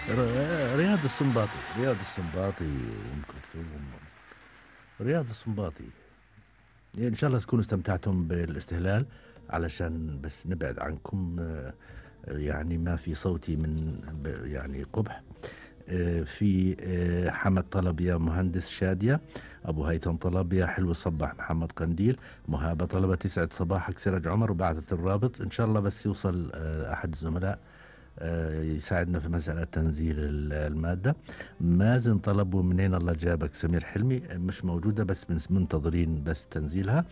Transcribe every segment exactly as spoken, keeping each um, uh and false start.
ر- رياض السنباطي، رياض السنباطي وأم كلثوم. رياض السنباطي. يعني إن شاء الله تكونوا استمتعتم بالاستهلال، علشان بس نبعد عنكم. آه، يعني ما في صوتي من ب- يعني قبح. آه، في آه، حمد طلب يا مهندس شادية. أبو هيثم طلب يا حلو صباح محمد قنديل. مهابة طلبت يسعد صباحك سراج عمر، وبعثت الرابط إن شاء الله بس يوصل آه، أحد الزملاء آه، يساعدنا في مسألة تنزيل ال- المادة. مازن طلب ومنين الله جابك سمير حلمي، آه، مش موجودة بس من- منتظرين بس تنزيلها.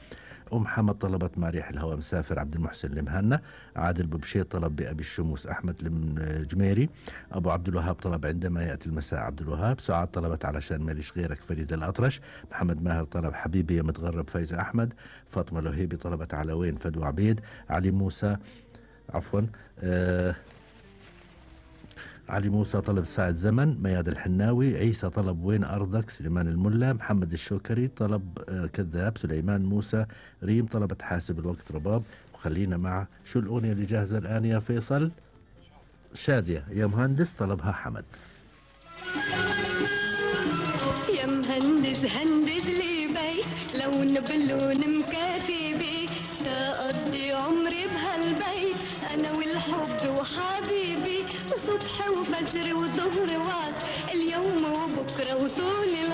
أم حمد طلبت مع ريح الهوى مسافر عبد المحسن المهنا. عادل ببشير طلب بأبي الشموس أحمد الجميري. أبو عبد الوهاب طلب عندما يأتي المساء عبد الوهاب. سعاد طلبت علشان ماليش غيرك فريد الأطرش. محمد ماهر طلب حبيبي يا متغرب فايزة أحمد. فاطمة لهيبي طلبت على وين فدو عبيد. علي موسى عفوا آه علي موسى طلب ساعة زمن. مياد الحناوي. عيسى طلب وين أرضك سليمان الملا. محمد الشوكري طلب آه كذاب. سليمان موسى. ريم طلبت حاسب الوقت رباب. وخلينا مع شو الأغنية اللي جاهزة الآن يا فيصل؟ شادية يا مهندس طلبها حمد. يا مهندس هندس لي بيت لون بلون مكاتبي، تقضي عمري بهالبيت انا والحب وحبيبي، وصبح وفجر وظهر وعصر اليوم وبكره وطول